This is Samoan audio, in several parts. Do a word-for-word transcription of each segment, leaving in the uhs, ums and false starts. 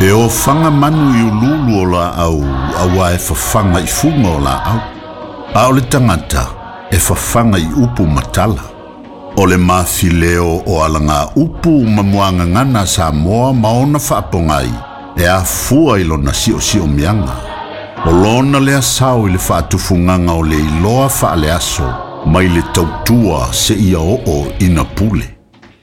E ofaga manu i ululu o laau auā e fafaga i fuga o laau. A o le tagata e fafaga i upu ma tala. O le mafileo o alaga upu ma muagagana a Samoa ma ona faapogai e afua i lona siosiomiaga. O lona lea sao i le faatufugaga o le iloa faaleaso mai le tautua seia oo ina pule.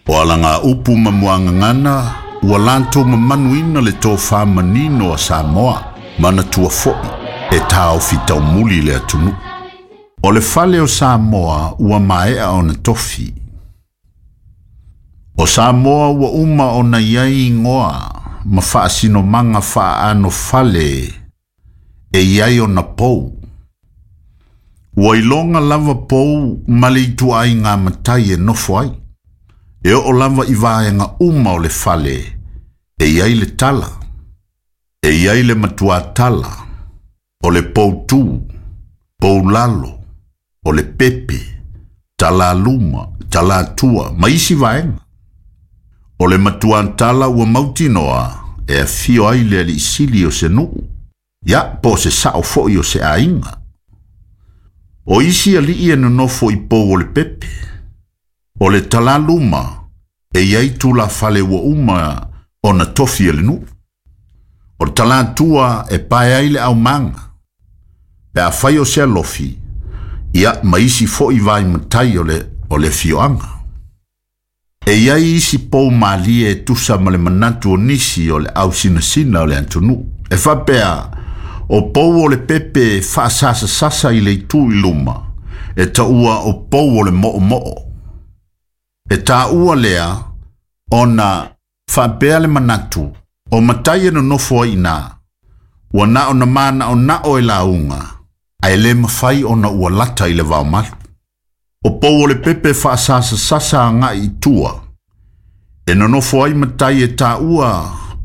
O alaga upu ma muagagana ua latou mamanuina le tofā manino a Samoa manatua foʻi e taofi taumuli le atunuu. O le fale o Samoa ua maea ona tofi. O Samoa ua uma ona iai igoa ma faasinomaga faaano fale e iai ona pou. Ua iloga lava pou ma le ituaiga matai e nofo ai. E oo lava i vaega uma o le fale e iai le tala. E iai le matuatala, o le poutū, poulalo, o le pepe, talaluma, talatua, ma isi vaega. O le matuatala ua mautinoa e afio ai le aliisili o se nuu, ia po o se sao foʻi o se aiga. O isi alii e nonofo i pou o le pepe. O le talaluma e iai tulafale ua uma ona tofi e le nuu. O le talatua e pae ai le aumaga. Pe afai o se alofi, ia ma isi foʻi vai matai o le, o le afioaga. E iai isi pou malie e tusa ma le manatu o nisi o le ausinasina o le atunuu. E faapea, o pou o le pepe faasasasasa i le itu i luma, e taua o pou o le moomoo. E taua lea ona faapea le manatu o matai e nonofo ai iina, ua na o na manaonao e lauga, ae le mafai ona ua lata i le vaomalu. O pou o le pepe faasasasasa agai i tua, e nonofo ai matai e taua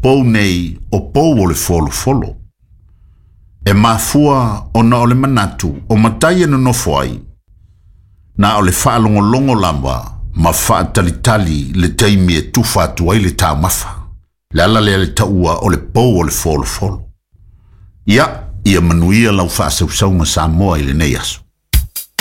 pou nei o pou o le folofolo. E mafua ona o le manatu o matai e nonofo ai, na o le faalogologo lava ma faatalitali le taimi e tufa atu ai le taumafa. Le ala lea le taua o le pou o le folofolo. Ia, ia manuia lau faasausauga Samoa i lenei aso.